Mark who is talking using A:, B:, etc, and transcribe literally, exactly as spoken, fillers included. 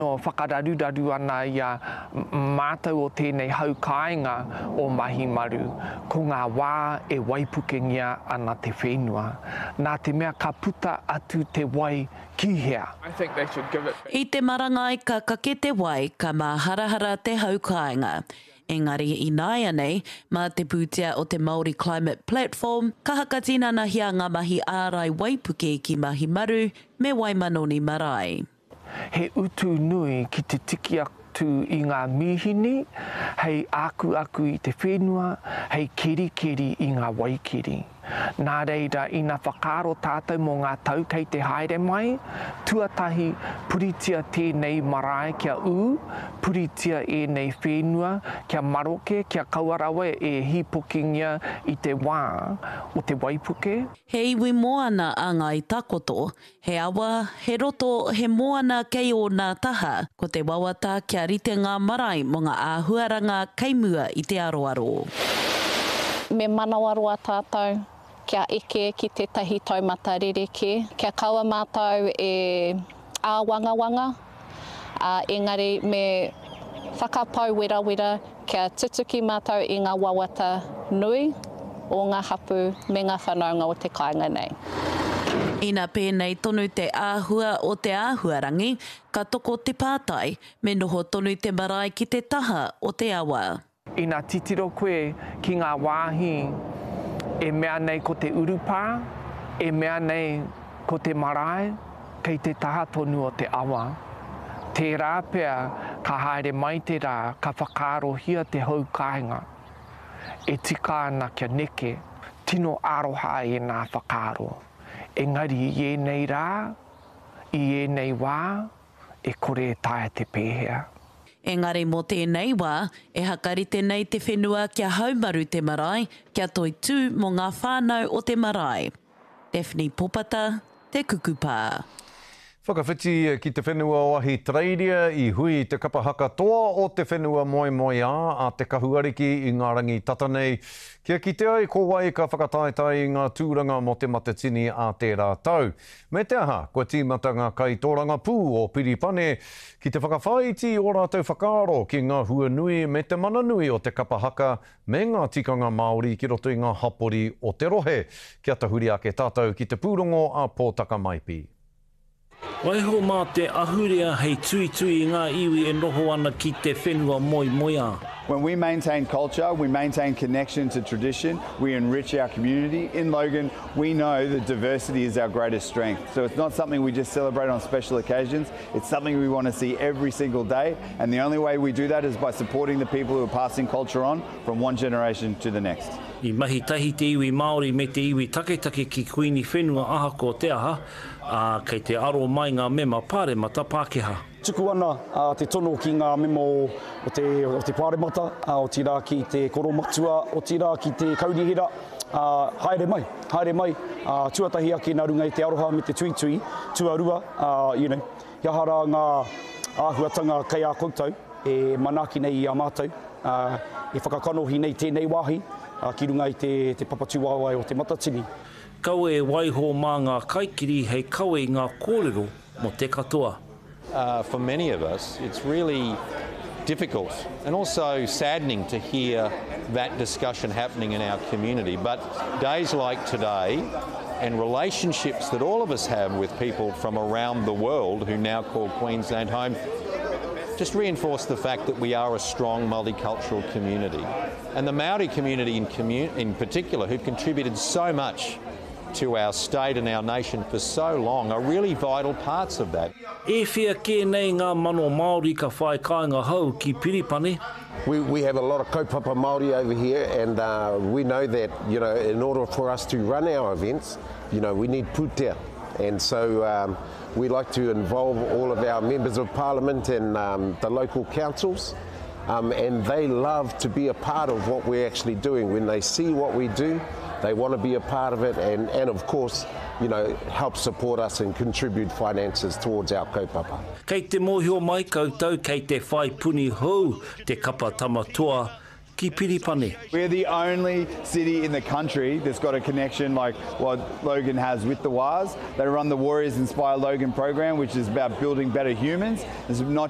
A: Whakararuraru ana i a mātou o tēnei hau kāinga o Mahimaru, ko ngā wā e waipukengia ana te whenua. Nā te mea ka puta atu te wai ki hea?
B: I te marangai ka kake te wai, ka māharahara te hau kāinga. Engari ināianei, mā te pūtea o te Māori Climate Platform, ka hakatinanahia ngā mahi ārai waipuke ki Mahimaru me Waimanoni Marae.
A: He utu nui ki te tiki atu i ngā mīhini hei akuaku i te whenua, hei kerikeri i ngā waikeri. Nā reira, ina whakaaro tātou mō ngā tau kei te haere mai, tuatahi puritia tēnei marae kia ū, puritia ēnei whenua kia maroke, kia kaua rawa e hīpokingia i te wā o te waipuke.
B: He iwi moana a Ngāi Takoto, he awa, he roto, he moana kei ōna taha. Ko te wawata kia rite ngā marae mō ngā āhuaranga kei mua i te aroaro.
C: Me manawaroa tātou kia eke ki tētahi taumata rerekē, kia kaua mātou e āwangawanga, ā, engari me whakapau werawera kia tutuki mātou i ngā wawata nui o ngā hapū me ngā whanaunga o te kāinga nei.
B: Ina pēnei tonu te āhua o te āhuarangi, ka toko te pātai, me noho tonu te marae ki te taha o te awa.
A: Ina titiro koe ki ngā wāhi e mea nei ko te urupā, e mea nei ko te marae, kei te taha tonu o te awa. Tērā pea ka haere mai te rā ka whakaarohia te hau kāinga. E tika ana kia neke, tino aroha ēnā whakaaro. Engari i ēnei rā, i ēnei wā, e kore e taea te pēhea.
B: Engari mō tēnei wā, e hakarite nei te whenua kia haumaru te marae, kia toitū mō ngā whānau o te marae. Daphne Popata, Te Kukupā.
D: Whakawhiti ki te whenua o Ahitereiria i hui te kapa haka toa o te whenua moemoeā a Te Kahuariki i ngā rangi tata nei, kia kite ai ko wai ka whakataetae i ngā tūranga mō te Matatini a tērā tau. Me te aha, kua tīmata ngā kaitōrangapū o Piripane ki te whakawhāiti i ō rātou whakaaro ki ngā huanui me te mana nui o te kapa haka me ngā tikanga Māori ki roto i ngā hapori o te rohe. Kia tahuri ake tātou ki te pūrongo a Pōtaka Maipi.
E: Waiho mā te ahurea hei tuitui i ngā iwi e noho ana ki te whenua moemoeā.
F: When we maintain culture, we maintain connection to tradition, we enrich our community. In Logan, we know that diversity is our greatest strength. So it's not something we just celebrate on special occasions, it's something we want to see every single day. And the only way we do that is by supporting the people who are passing culture on from one generation to the next.
E: I mahi tahi te iwi Māori me te iwi taketake ki Kuini Whenua ahakoa te aha, ā, kei te aro mai ngā mema pāremata Pākehā.
G: Tuku ana te tono ki ngā mema o te, o te pāremata, otirā ki te koromatua, otirā ki te kaunihera, ā, haere mai, haere mai, ā, tuatahi ake nā runga i te aroha me te tuitui, tuarua, ā, you know, he aha rā ngā āhuatanga kei a koutou e manaaki nei i a mātou, ā, e whakakanohi nei tēnei wāhi, ā, ki runga i te, te papatūwaewae o Te Matatini.
E: Kaua e waiho mā ngā kaikiri hei kawe i ngā kōrero mō te katoa.
H: Uh, for many of us, it's really difficult and also saddening to hear that discussion happening in our community. But days like today and relationships that all of us have with people from around the world who now call Queensland home just reinforce the fact that we are a strong multicultural community. And the Māori community in, commun in particular, who've contributed so much to our state and our nation for so long, are really vital parts of that.
E: E whia kē nei ngā mano Māori ka whai kāinga hou ki Piripane.
I: We, we have a lot of kaupapa Māori over here, and uh, we know that, you know, in order for us to run our events, you know, we need pūtea. And so um, we like to involve all of our members of parliament and um, the local councils. Um, and they love to be a part of what we're actually doing. When they see what we do, they want to be a part of it and, and of course, you know, help support us and contribute finances towards our kaupapa.
E: Kei te mōhio mai koutou kei te whai puni hou te kapa Tama Toa ki Piripane.
F: We're the only city in the country that's got a connection like what Logan has with the Wars. They run the Warriors Inspire Logan program, which is about building better humans. It's not just